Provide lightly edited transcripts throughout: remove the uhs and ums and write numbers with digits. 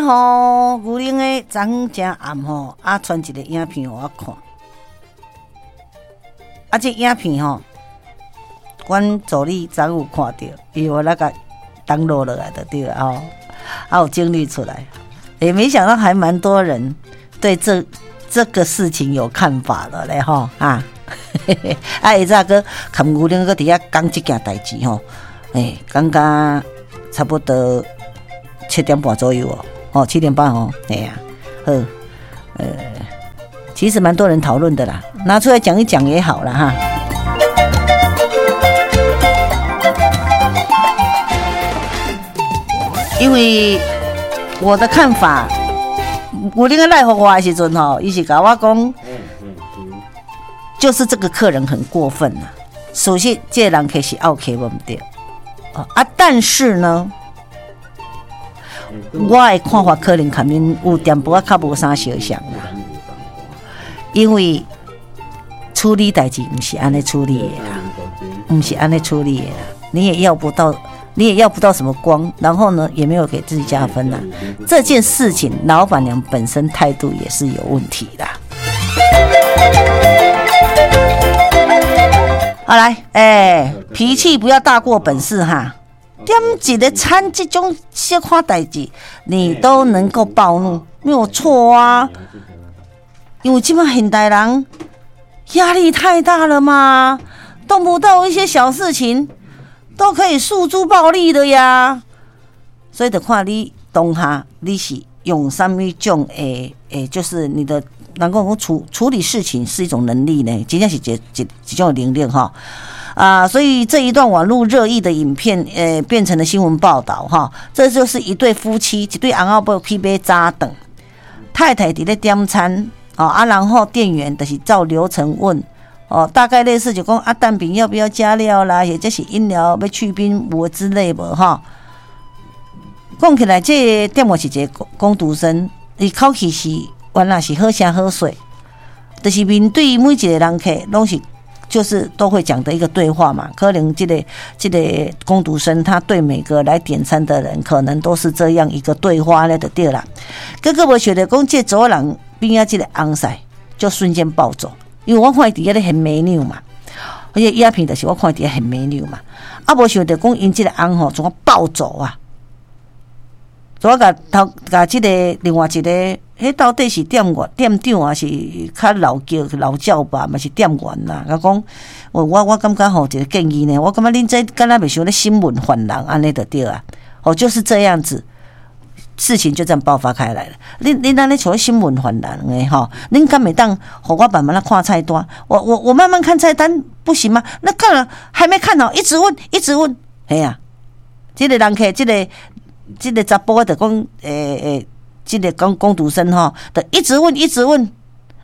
吼，牛奶的昨昏誠暗吼，啊，傳一個影片予我看。啊，這影片吼，阮助理昨有看著，伊予我共 download 落來就對了吼，啊，有整理出來。欸，沒想到還蠻多人對這個事情有看法的咧吼啊！啊，下早閣含牛奶閣佇遐講這件代誌吼，欸，講甲差不多7點半左右哦，哦，7點半哦，哎呀，好，其實蠻多人討論的啦，拿出來講一講也好啦哈。因為我的看法，牛奶來予我的時陣吼，伊是共我講，就是這個客人很過分啦。首先，這個人客是奧客，無毋對，啊，但是呢，我的看法可能佮恁有淡薄仔較無啥相像啦，因為處理代誌毋是按呢處理的啦，毋是按呢處理的啦，你也要不到，你也要不到什麼光，然後呢，也沒有給自己加分啦。這件事情，老闆娘本身態度也是有問題的。好來，欸，脾氣不要大過本事哈。點一個餐這種小可代誌，你都能夠暴怒，沒有錯啊。因為這擺現代人壓力太大了嘛，動不動一些小事情都可以訴諸暴力的呀。所以就看你當下你是用啥物種的，欸，就是你的，人講講處理事情是一種能力呢，真正是一種能力哈。啊，所以這一段網絡熱議的影片，變成了新聞報道哈。這就是一對夫妻，一對翁仔某去買早頓，太太佇咧點餐，哦啊，然後店員就是照流程問，哦，大概類似就講啊，蛋餅要不要加料啦，或者是飲料欲去冰無之類無哈。講起來，這個店員是一個工讀生，伊口氣是原來是好聲好勢，就是面對每一個人客攏是。就是都會講的一個對話嘛，可能這個工讀生他對每個來點餐的人，可能都是這樣一個對話咧，就對啦。結果無想著講，這查某人邊仔這個翁婿就瞬間暴走，因為我看伊佇遐咧現美女嘛，而且影片就是我看伊佇遐現美女嘛，啊，無想著講𪜶這個翁吼怎啊暴走啊？怎啊共頭共這個另外一個？彼到底是店員、店長，還是較老叫老叫吧？嘛是店員啦。佮講，我感覺吼，一個建議呢，我感覺恁這敢若袂像咧審問犯人按呢就對啊。哦，就是這樣子，事情就這樣爆發開來了。恁按呢像咧審問犯人的吼，恁敢會當予我慢慢仔看菜單？我慢慢看菜單不行嗎？那看了還沒看好，一直問，一直問，嘿啊，這個人客，這個查埔就講，欸欸。這個工讀生吼，就一直問，一直問。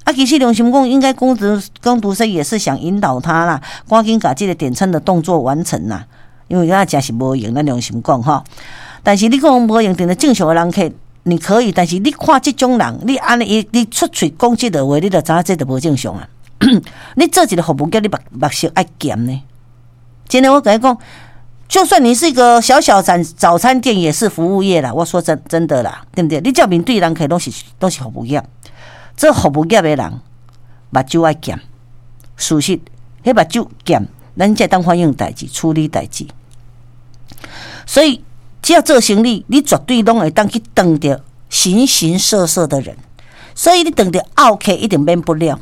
啊，其實良心講，應該工讀生也是想引導他啦，趕緊共這個點餐的動作完成啦。因為咱誠是無閒，咱良心講吼。但是你講無閒，定著正常的人客，你可以，但是你看這種人，你按呢伊，你出喙講這個話，你就知影這就無正常啊。你做一個服務業，你目目色愛嚴呢。真的，我共你講。就算你是一個小小早餐店，也是服務業啦。我說真的啦，對不對？你只面對人客攏是服務業，做服務業的人目睭愛嚴，事實，彼目睭嚴，咱才會當反映代誌、處理代誌。所以，只要做生意，你絕對攏會當去碰著形形色色的人。所以，你碰著奧客一定免不了。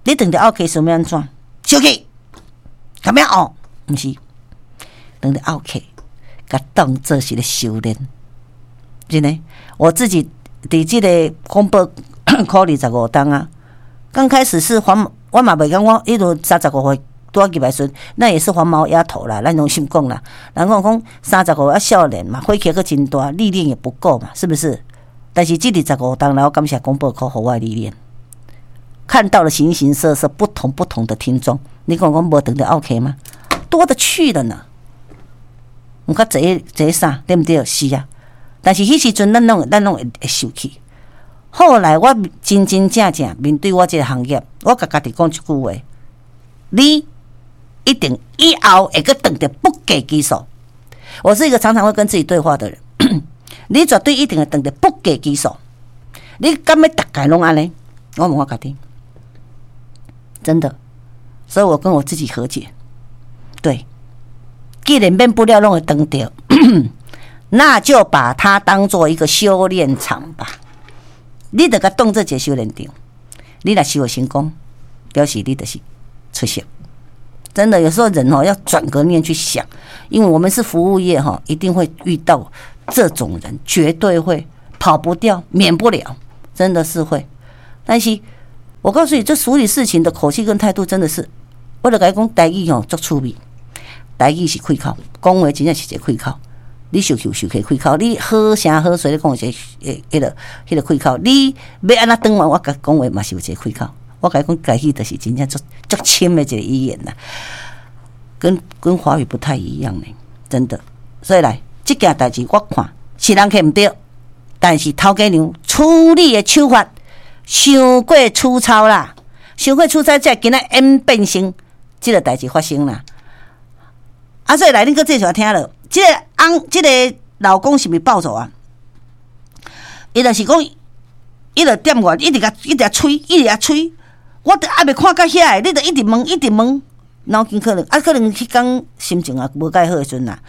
你碰著奧客想欲按怎？生氣，咁樣哦，毋是。碰著奧客，共當做是咧修煉，真的。我自己佇這個廣播考25冬啊，剛開始是黃，我嘛袂講我彼陣35歲拄仔入來時陣，那也是黃毛丫頭啦，咱攏心講啦。人講講35歲啊少年嘛，火氣閣真大，歷練也不夠嘛，是不是？但是這25冬來，我感謝廣播科予我的歷練，看到了形形色色、不同不同的聽眾。你講講無碰著奧客嗎？多的去了呢。毋較濟濟啥，對毋對？是啊，但是彼時陣咱攏會受氣。後來我真真正正面對我這個行業，我共家己講一句話：你一定以後會閣碰著不計其數。我是一個常常會跟自己對話的人。你絕對一定會撞著不計其數。你敢欲逐家攏按呢？我問我家己，真的，所以我跟我自己和解。對，既然免不了攏會撞著，那就把它當做一個修煉場吧。你就共當做一個修煉場，你若修成功，表示你就是出色。真的，有時候人哦要轉個念去想，因為我們是服務業哈，一定會遇到這種人，絕對會跑不掉，免不了，真的是會。但是我告訴你，這處理事情的口氣跟態度，真的是，我就共你講台語吼足趣味，台語是開口，講話真正是一個開口。你受氣有受氣開口，你好聲好勢咧講一個彼個開口，你欲按怎轉彎，我共講話嘛是有一個開口。我共你講，台語就是真正足足深的一個語言啦，跟華語不太一樣呢，真的。所以來，這件代誌我看是人客毋對，但是頭家娘處理的手法傷過粗糙啦，傷過粗糙，才今仔演變成這個代誌發生啦。啊，所以來，恁閣繼續聽落，這個翁，這個老公是毋是暴走啊？伊就是講，伊就店員一直共一直催，一直共催。我都猶未看到遐個，你就一直問，一直問，腦筋可能啊，可能彼工心情也無蓋好的時陣啦。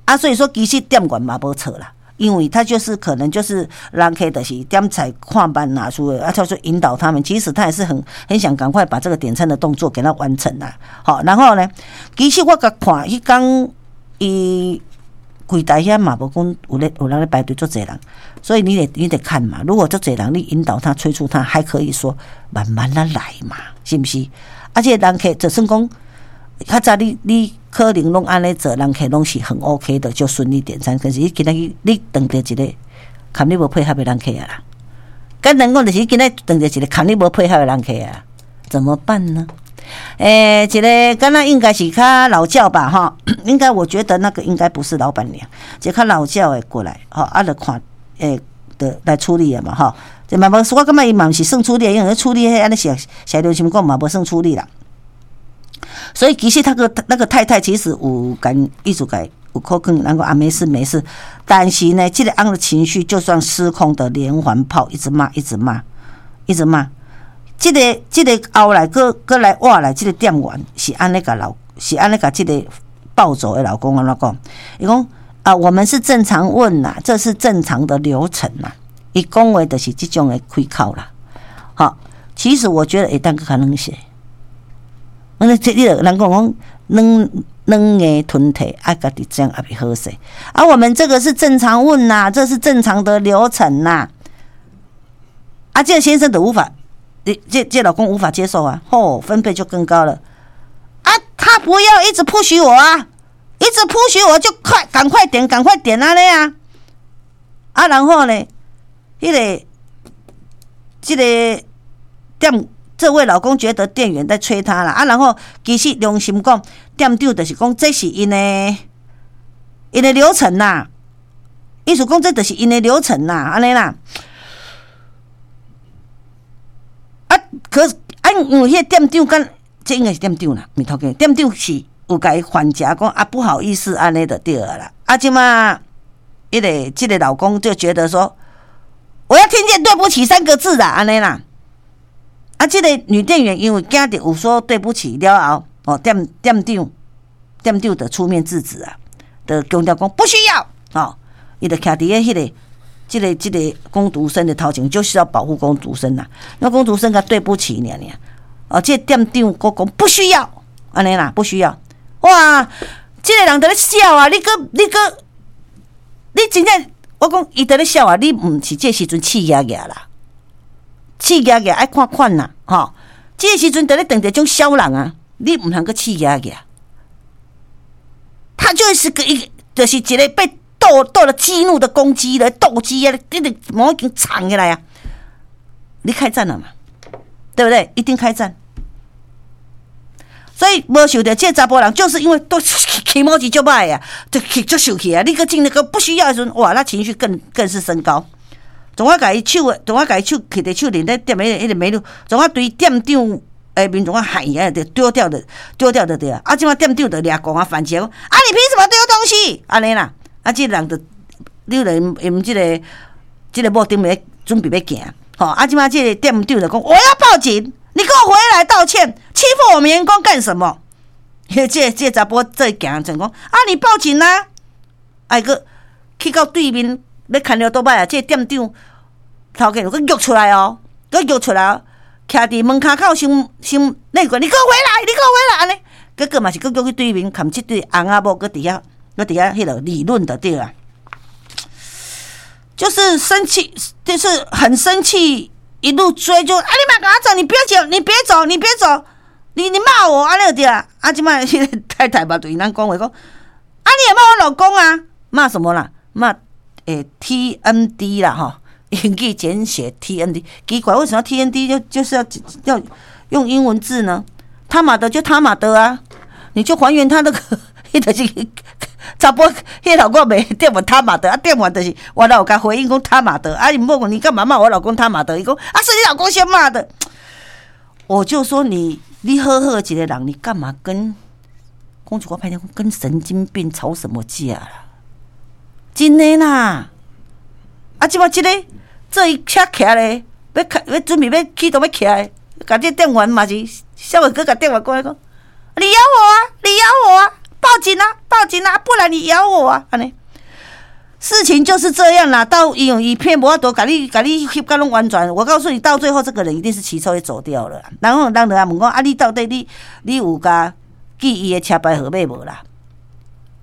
啊，所以說其實店員嘛無錯啦，因為他就是可能就是人客就是點菜看慢拿出來，啊，他說引導他們，其實他也是很想趕快把這個點餐的動作給他完成啦。好，然後呢，其實我共看彼工伊櫃台遐嘛無講有咧有人咧排隊足濟人，所以你得看嘛。如果足濟人，你引導他催促他，還可以說慢慢仔來嘛，是毋是？啊，這個人客就算講較早你可能攏按呢做，人客攏是很 OK 的，就順利點餐。可是你今仔日你撞著一個共你無配合的人客啊啦，簡單講就是你今仔撞著一個共你無配合的人客啊，怎麼辦呢？欸，一個敢若應該是較老教吧，吼，應該我覺得那個應該不是老闆娘，一個較老教的過來，吼，啊，就看，欸，的來處理的嘛，吼，這嘛無，我感覺伊嘛毋是算處理，因為處理彼按呢寫寫良心講嘛無算處理啦。所以其實他個那個太太其實有共意思共有可能人講啊沒事沒事，但是呢，這個翁的情緒就算失控的連環炮，一直罵，一直罵，一直罵。這個後來閣閣來倚來，這個店員是按呢共老是按呢共這個暴走的老公按怎講？伊講啊，我們是正常問啦，這是正常的流程啦。伊講話就是這種的開口啦。好，其實我覺得會當閣較軟些。那這你人講講軟軟硬吞體，啊，家己這樣也袂好勢。啊，我們這個是正常問啦，這是正常的流程啦。啊，這個先生都無法。你這老公無法接受啊，吼，分貝就更高了啊！他不要一直 push 我啊，一直 push 我就快，趕快點，趕快點啊咧啊！啊，然後呢，彼個這個店這位老公覺得店員在催他啦啊，然後其實良心講，店長就是講這是𪜶的流程啦，意思講這就是𪜶的流程啦，按呢啦。啊，可啊，因為彼個店長敢，這應該是店長啦，毋是頭家。店長是有共伊反訕講啊，不好意思，按呢就對了啦。啊，這馬彼個這個老公就覺得說，我要聽見對不起三個字啦，按呢啦。啊，這個女店員因為驚著有說對不起了後，哦，店長就出面制止啊，就強調講不需要，哦，伊就徛佇咧彼個。這個工讀生的頭前，就是要保護工讀生啦。那工讀生共對不起爾爾，哦，這個店長閣講不需要，按呢啦，不需要。哇，這個人佇咧笑啊！你閣，你真正我講伊佇咧笑啊！你毋是這時陣氣壓壓啦，氣壓壓愛看款啦，吼。這個時陣佇咧撞著種痟人啊，你毋通閣氣壓壓。他就是個一，就是一個被鬥了激怒的公雞來鬥雞啊！你直毛已經藏起來啊！你開戰了嘛？對不對？一定開戰。所以無想著這查埔人，就是因為都氣毛子足歹啊，就氣足受氣啊！你閣進那個不需要的時陣，哇，那情緒更是升高。總啊，共伊手，總啊，共伊手揢佇手裡咧，店彼個美女，總啊對店長的面總啊喊啊，就丟掉的，丟掉的對啊！啊，這馬店長就掠狂啊，反擊講啊，你憑什麼丟東西？按呢啦。啊，這個人就你咧𪜶這個某頂面準備欲行，吼啊！這擺這個店長就講，我要報警，你給我回來道歉，欺負我們員工幹什麼？這查埔這行就講啊，你報警啊！哎閣去到對面欲牽著倒擺啊，這個店長頭家又閣約出來哦，閣約出來哦，徛佇門跤口先先那個，你給我回來，你給我回來，按呢，結果嘛是閣約去對面，含這對翁仔某閣佇遐，閣佇遐彼落理論就對啊。就是生氣，就是很生氣，一路追就啊！你莫共我走，你不要走，你別走，你別走，你罵我按呢對啊！啊，這擺彼个太太嘛對𪜶講話講，啊，你也罵我老公啊？罵什麼啦？罵TND 啦吼，英語簡寫 TND。奇怪，為什麼 TND 就是要用英文字呢？他媽的就他媽的啊！你就還原他那個，彼就是查埔，彼老公袂店員他媽的啊，店員就是我老共回應講他媽的啊，伊問我你幹嘛罵我老公他媽的？伊講啊，是你老公先罵的。我就說你好好一個人，你幹嘛跟講一句歹聽，跟神經病吵什麼架啦？真的啦！啊，這擺這個這一車徛咧，欲開欲準備欲起動欲起來，共這店員嘛是，稍微閣共店員講講，你咬我啊！你咬我啊！報警啊！報警啊！不然你咬我啊！按呢，事情就是這樣啦。到因為伊騙無法度，共你共你翕甲攏完全。我告訴你，到最後這個人一定是騎車會走掉了。然後人就來問講：啊，你到底你有共記伊的車牌號碼無啦？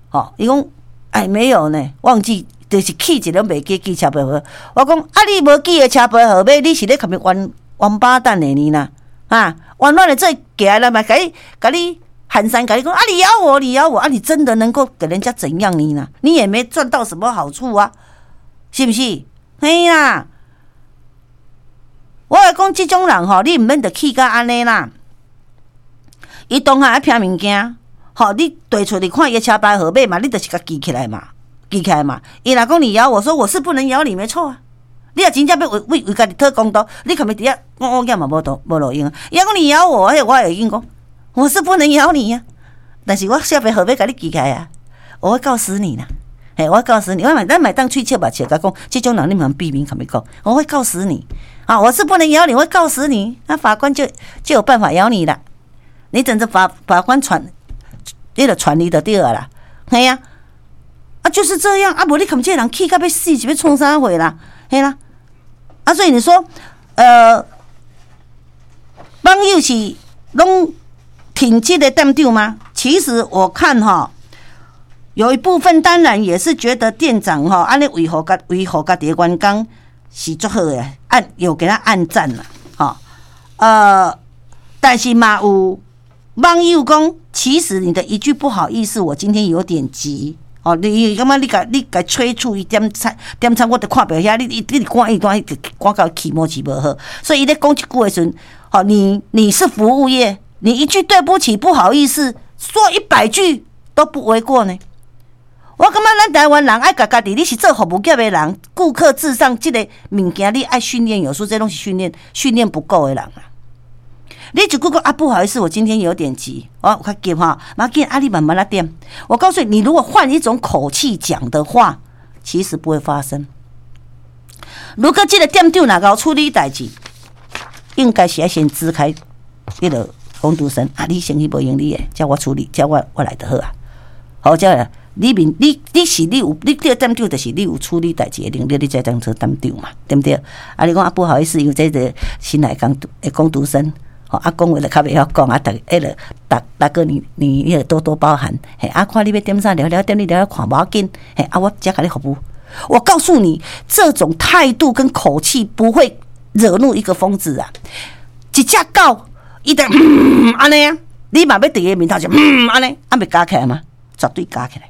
吼，伊講哎沒有呢，忘記，就是氣一個袂記記車牌號。我講啊，你無記的車牌號碼，你是咧共伊冤王八蛋的呢啦？啊，冤枉的這行來嘛，共你共你寒山，共你講啊，你咬我，你咬我啊，你真的能夠給人家怎樣你呢？你也沒賺到什麼好處啊，是不是？嘿啦，我來講這種人吼，你毋免著氣甲按呢啦。伊當下愛騙物件，吼，你提出來看伊的車牌號碼嘛，你就是共記起來嘛，記起來嘛。伊若講你咬我說我是不能咬你，沒錯啊。你若真正欲為為為家己討公道，你共伊佇遐講講講嘛無道無路用啊。伊若講你咬我，彼我會用講，我是不能咬你呀，但是我車牌號碼共你記起來啊，我會告死你啦。嘿，我會告死你，我嘛咱嘛會當喙笑目笑，共講，這種人你毋通避免共伊講，我會告死你啊！我是不能咬你，我會告死你，那法官就有辦法咬你了。你等着法官傳，彼個傳你就對了啦。嘿啊，啊就是這樣啊，無你共這個人氣甲欲死，是欲創啥貨啦？嘿啦，啊所以你說，網友是攏挺這個店長嗎？其實我看哈，有一部分當然也是覺得店長哈，按呢維護家己的員工是足好的，按有給他按讚啦，吼，但是嘛有網友講，其實你的一句不好意思，我今天有點急，哦，你感覺你共催促伊點餐點餐，我都看袂遐，你趕伊趕伊趕到氣毛是無好，所以伊咧講這句的時陣，吼，你是服務業，你一句對不起、不好意思，說100句都不為過呢。我感覺咱台灣人愛共家己，你是做服務業的人，顧客至上這個物件，你愛訓練有素，這攏是訓練不夠的人啊。你一句講啊，不好意思，我今天有點急，哦，較急哈，無要緊啊，你慢慢來點。我告訴你，你如果換一種口氣講的話，其實不會發生。如果這個店長若𠢕處理代誌，應該是愛先支開彼個工讀生啊，你先去無用你的，叫我處理，叫我來就好啊。好，這樣你面你你是你有你這個店長，就是你有處理代誌的能力，你才當做店長嘛，對毋對？啊，你講啊，不好意思，因為這個新來工讀生。啊，講話就較袂曉講啊，逐彼個大大哥你也多多包涵，嘿，啊，看你欲點啥聊聊點，你聊聊看無要緊，嘿，啊，我遮共你服務。我告訴你，這種態度跟口氣不會惹怒一個瘋子啊！一隻狗，伊就按呢啊，你嘛欲佇伊面頭前按呢，啊，袂咬起來嗎？絕對咬起來，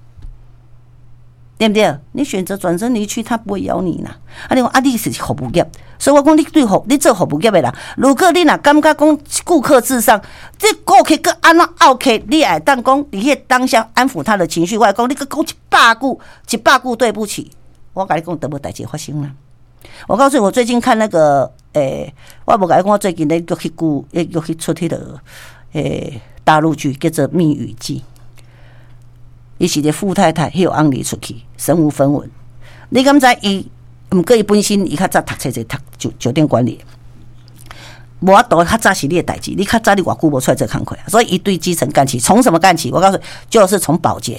對毋對？你選擇轉身離去，他不會咬你啦。啊，你講啊，你是服務業，所以我講你對服你做服務業的人，如果你若感覺講顧客至上，這顧客閣按怎拗客，你會當講佇彼個當下安撫他的情緒。我講你閣講一百句，一百句對不起，我共你講，都無代誌發生啦。我告訴你，我最近看那個，我無共你講，我最近咧閣去顧，閣去出彼個，大陸劇叫做《密語記》。伊是個富太太，彼翁離出去，身無分文。你敢知伊？毋過伊本身伊較早讀冊者讀酒店管理，無法度較早是你的代誌，你較早你偌久無出來做工課，所以伊對基層幹起，從什麼幹起？我告訴你，就是從保潔，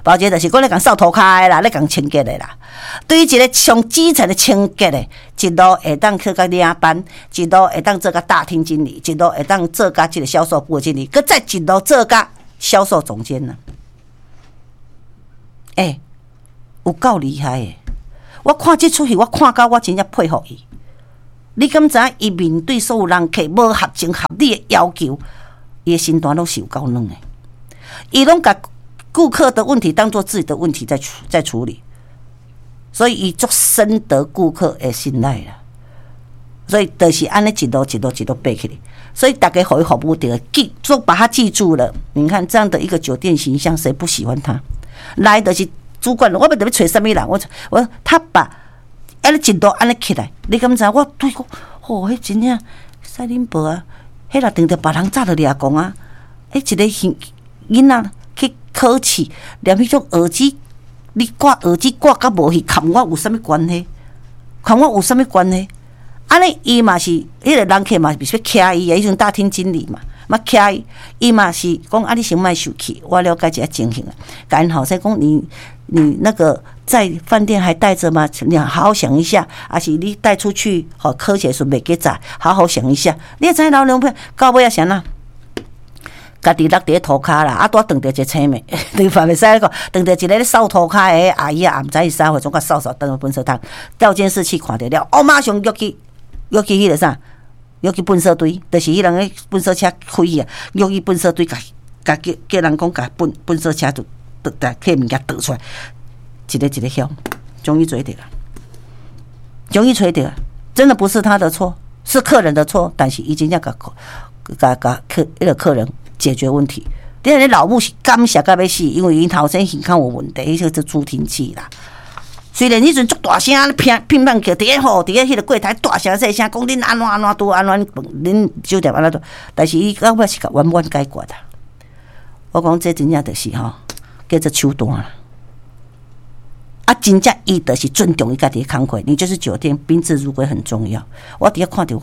保潔就是講咧共掃塗跤的啦，咧共清潔的啦。對於一個上基層的清潔的，一路會當去甲領班，一路會當做甲大廳經理，一路會當做甲這個銷售部的經理，閣再一路做甲銷售總監呢。欸，有夠厲害的！我看這齣戲，我看到我真正佩服伊。你敢知影伊面對所有人客無合情合理的要求，伊的身段攏是有夠軟的。伊攏共顧客的問題當做自己的問題在處理，所以伊足深得顧客的信賴啦。所以就是按呢一路一路一路爬起來，所以大家予伊服務著記，都把他記住了。你看這樣的一個酒店形象，誰不喜歡他？來的是主管，我欲特別揣啥物人？我他把按呢一路按呢起來，你敢知？我對講，吼，彼真正使恁婆啊！彼若碰著別人早就掠狂啊！彼一個囡仔去考試，連彼種耳機，你掛耳機掛甲無去，佮我有啥物關係？佮我有啥物關係？按呢伊嘛是，彼個人客嘛是欲徛伊啊，彼陣大廳經理嘛，嘛徛伊，伊嘛是講啊，你先莫生氣，我了解一下情形啊。共𪜶後生講你那個在飯店還帶著嗎？你好好想一下，抑是你帶出去，予考試時袂記載，好好想一下。你知老娘到尾仔是按怎？家己落佇咧塗跤啦，啊，拄仔撞著一個青妹，對嘛袂使講，撞著一個咧掃塗跤的阿姨啊，毋知伊啥貨，總共掃掃轉去糞掃桶，調監視器看著了，哦，馬上約去約去彼個啥，約去糞掃堆，就是彼人咧糞掃車開去啊，約去糞掃堆，共共叫叫人講共糞掃車就倒摕物件倒出來，一個一個鄉，終於揣著啊，終於揣著啊，真的不是他的錯，是客人的錯，但是伊真正共共共客彼個客人解決問題。你看老母是感謝甲欲死，因為𪜶頭先耳孔有問題，彼個做助聽器啦。雖然彼陣足大聲，拼拼命叫，佇咧吼，佇咧彼個櫃台大聲細聲講恁按怎按怎拄按怎恁酒店按怎拄，但是伊到尾是共圓滿解決啊。我講這真正就是吼，叫做手段啦。啊，真正伊就是尊重伊家己的工課，你就是酒店賓至如歸很重要。我佇遐看著講，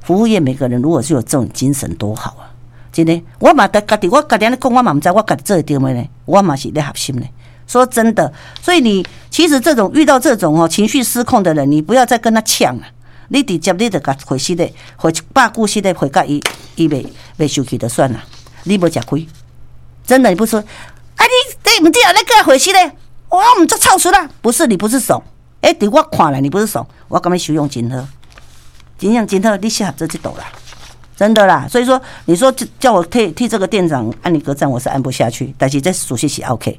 服務業每個人如果是有這種精神多好啊！真的，我嘛家己，我家己按呢講，我嘛毋知我家己做會著無呢？我嘛是咧學習呢。說真的，所以你其實這種遇到這種哦情緒失控的人，你不要再跟他嗆了。你直接你就共回息的，回一百句式的回共伊，伊袂袂生氣就算了。你無食虧，真的，你不說，啊你對毋對啊？你閣回息咧，我毋做臭死啦！不是你不是慫，欸，佇我看來你不是慫，我感覺修養真好，真正真好，你適合做這道啦。真的啦，所以說你說叫我替這個店長按你個讚，我是按不下去。但是這屬實是 OK，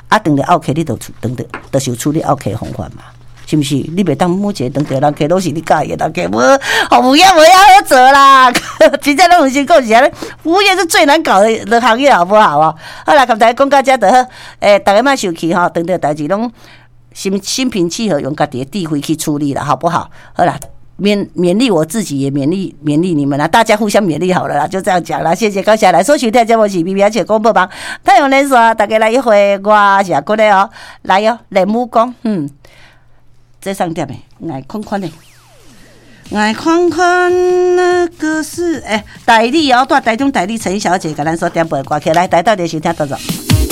啊，當著奧客你就當著就是有處理奧客方法嘛，是毋是？你袂當每一個當著人客攏是你佮意的人客，無服務業無遐好做啦。真正攏毋是講是按呢，服務業是最難搞的行業，好不好啊？好啦，共大家講到遮就好。欸，逐家莫生氣吼，當著代誌攏心平氣和，用家己的智慧去處理啦，好不好？好啦。勉勵我自己，也勉勵你們啦，大家互相勉勵好了啦，就這樣講啦。謝謝，高下來，收聽節目是 B B 而且廣播網，太陽連線，大家來一回，我是阿骨的哦，來喲，練武功，這上點的，愛寬寬的，愛寬寬那個是欸，代理哦，蹛台中代理陳小姐，共咱所點播的歌曲，來，來到底收聽多少？